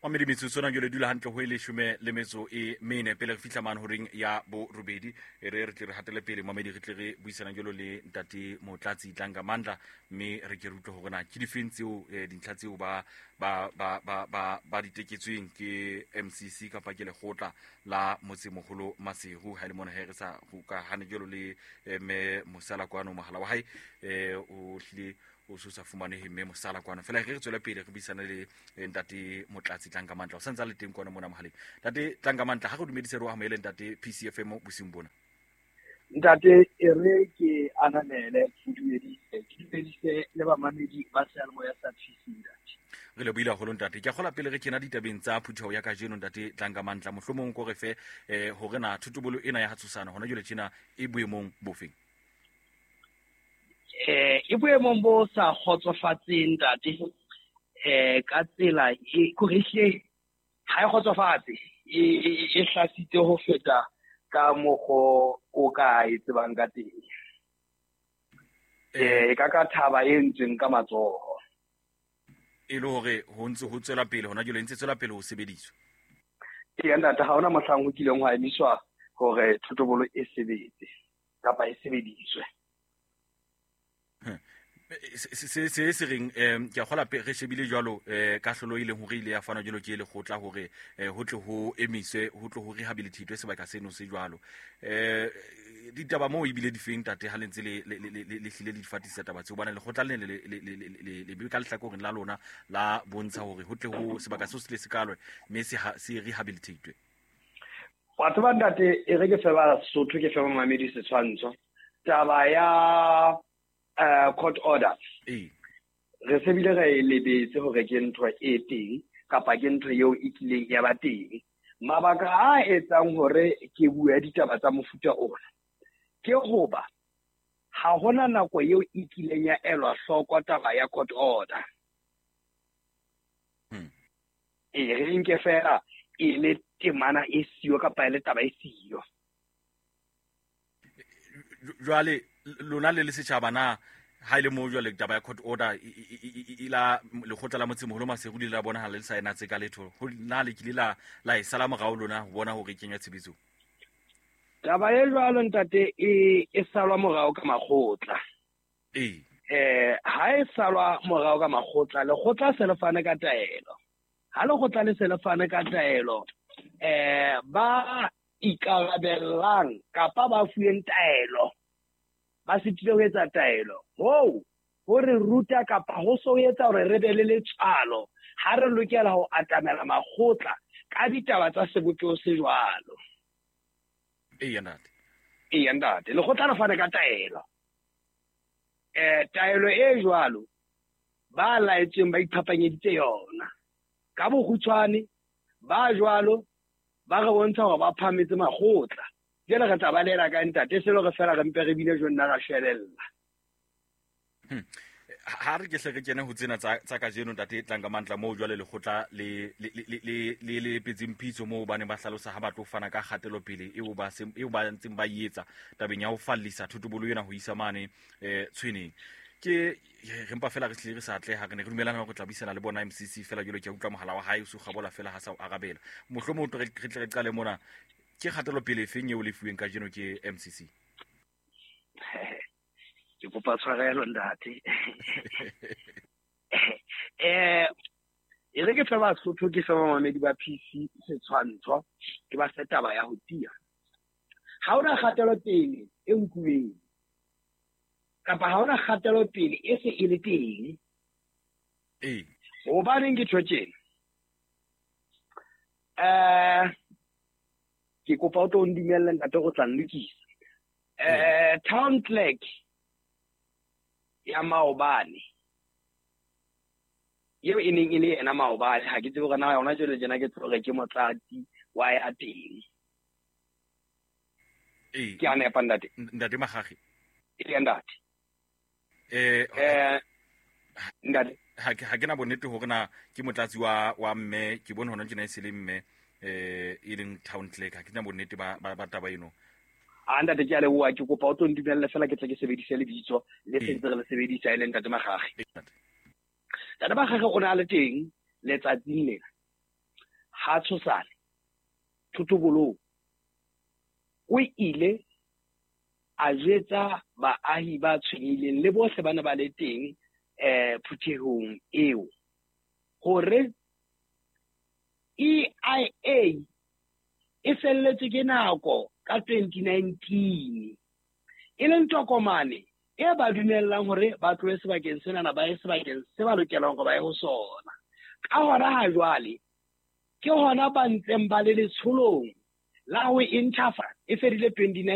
Mamedi metsotso na jole dula hantle ho e leshome le metso e mene pele re fihla mane horeng ya borobedi. E re re tle re hatele pele mamedi, re tle re buisana jalo le ntate Motlatsi Tlanga Mandla, mme re ke re utlwe hore na ke difeng tseo dintlha tseo ba ba ba ba ba ba di teketsweng ke MCC kapa ke lekgotla la motsemoholo Maseru. Ha e le mona he re sa hokahane jalo le mme Mosala kwano, mohala wa hae o hlile o se o sa fumanehe mme Mosala kwano. Fela re re tswele pele re buisane le ntate Motlatsi Tlanka Mantla, o santse a le teng kwana mona mohaleng. Ntate Tlanka Mantla, ha re dumedise, re o amohele ntate PCFM bosiung bona. Ntate, e re ke ananele, ke dumedise, ke dumedise le bamamedi ba seyalemoya sa PC, ntate. Re lebohile haholo ntate. Ke a kgola pele re kena ditabeng tsa phutheho ya kajeno ntate Tlanka Mantla, mohlomong ko re fe hore na thotobolo ena ya Hatshosana hona jwale tjena e boemong bofeng? E boemong bo sa kgotsofatseng ntate, ka tsela e kore ehlile ha e kgotsofatse, e hlasitse ho feta ka mokgo o ka e tsebang ka teng. E ka ka thaba e entsweng ka matsoho. E le hore ho ntse ho tswela pele hona jwale, e ntse tswela pele ho sebediswa. Ee ntate, ha hona mohlang ho kileng hwa emiswa hore thotobolo e sebetse kapa e sebediswe. Se se reng, ke a kgola re shebile jwalo kahlolo e leng hore ile ya fanwa jwalo ke lekgotla hore ho tle ho emiswe, ho tle ho rehabilitatwe sebaka seno se jwalo. Ditaba moo ebile di feng tate ha le ntse le hlile le di fatisa taba tseo? Hobane lekgotla le ne le be ka lehlakoreng la lona la bontsha hore ho tle ho sebaka seo se tle se kalwe mme se rehabilitatwe. Wa tseba ntate, e re ke fe Basotho, ke fe bamamedi setshwantsho. Taba ya court order. Re se bile re e lebetse hore ke ntho e teng kapa ke ntho eo e kileng ya ba teng. Mabaka a etsang hore ke bue ditaba tsa mofuta ona ke hoba ha hona nako eo e kileng ya elwa hloko taba ya court order. E re nke fela e le temana e siyo kapa e le taba e siyo. Jwale lona le le setjhaba na ha ile moo jwale taba ya court order e la lekgotla la motsemoholo Maseru le la bonahala le sa ena tse ka letho, ho na le kile la e sala morao lona ho bona hore e kenywa tshebetsong? Taba e jwalo ntate e salwa morao ka makgotla. Ha e salwa morao ka makgotla, lekgotla se le fane ka taelo. Ha lekgotla le se le fane ka taelo, ba ikarabellang kapa ba fuweng taelo ba sitile ho etsa taelo. Hoo ho re ruta kapa ho so etsa hore re be le letswalo ha re lokela ho atamela makgotla ka ditaba tsa sebopeho se jwalo. Eya ntate. Eya ntate, lekgotla le fane ka taelo. Taelo e jwalo ba laetsweng ba iphapanyeditse yona. Ka bokgutshwane ba jwalo ba re bontsha hore ba phahametse makgotla. Jwale re tla ba lela ka ntate, se le re fela re mpe re bine jo nna ra shwelella. Ha re ke hle re kene ho tsena tsa kajeno ntate Tlanka Mantla, moo jwale lekgotla le le le le le le epetseng pitso moo ba ne ba hlalosa ha ba tlo fana ka kgatelopele eo ba se eo ba ntseng ba e etsa tabeng ya ho fallisa thotobolo ena ho isa mane tshweneng. Ke re mpa fela re hlile re sa atleha, re ne re dumelana hore re tla buisana le bona MCC fela jwale ke a utlwa mohala wa hae o se o kgabola fela ha sa o arabela. Mohlomong re tle re qale mona, ke kgatelopele efeng eo le fuweng kajeno ke MCC? Ke kopa tshwarelo ntate. E re ke fe Basotho, ke fe bamamedi ba PC setshwantsho, ke ba fe taba ya ho tiya. Ha hona kgatelopele e nkuweng kapa ha hona kgatelopele e se e le teng. Hobaneng ke tjho tjena? Ke kopa o tlo ndumelle ntate go tla nlokisa. Town clerk ya maobane eo e neng e le yena maobane, ha ke tsebe hore na yona jwale tjena ke tlo re ke motlatsi wa ya teng. Ke a nepa ntate? Ntate Magage. Ee ntate. Ntate. Ha ke na bonnete hore na ke motlatsi wa mme, ke bone hona tjena e se le mme e leng town clerk, ha ke na bonnete ba taba eno. A ntate ke a leboha, ke kopa o tlo ndumelle fela ke tle ke sebedise lebitso le sentse re le sebedisa e leng ntate Magage. Ntate Magage o ne a le teng letsatsing lena. Ha Tshosane Thotobolong o ile a jwetsa baahi ba tshwenyehileng le bohle ba ne ba le teng phuthehong eo hore EIA e felletswe ke nako ka 2019, e leng tokomane e ba dumellang hore ba tlohe sebakeng senana ba ye sebakeng se ba lokelang hore ba ye ho sona. Ka hona ha jwale ke hona ba ntseng ba le letsholong la ho e ntjhafatsa, e fedile 2019.